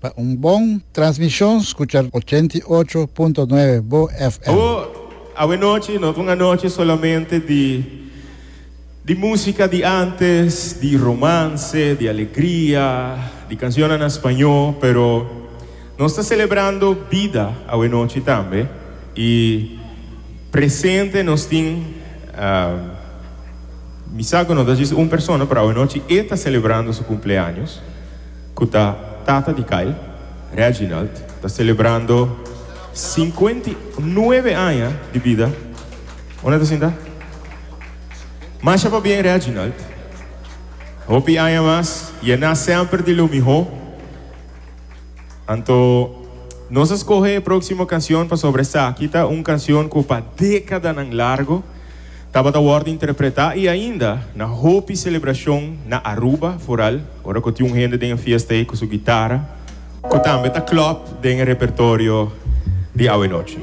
Pa un bon transmishon skucha 88.9 Bo FM. Awo, awe nochi no ta un anochi solamente di di musica di antes, di romance, di alegria, di cancionnan na spañó, pero nos ta celebrando bida awe nochi tambe y presente nos tin mi sa cu no ta djis un persona, pero awe nochi e ta celebrando su cumpleaños. Ku ta tata di Kyle, Reginald, ta selebrando 59 aña di bida. Unda ta sinta? Masha pabien Reginald. Hopi aña mas, yená semper di lo mihó. Anto nos a skohe e próksimo kansion pasobra esaki ta un kansion ku pa dékadanan largo tabata wòrdu interpretá i ainda na hopi selebrashon na Aruba, foral ora ku tin un hende den e fiesta ei ku su gitara ku tambe ta klòp den e repertorio di awenochi.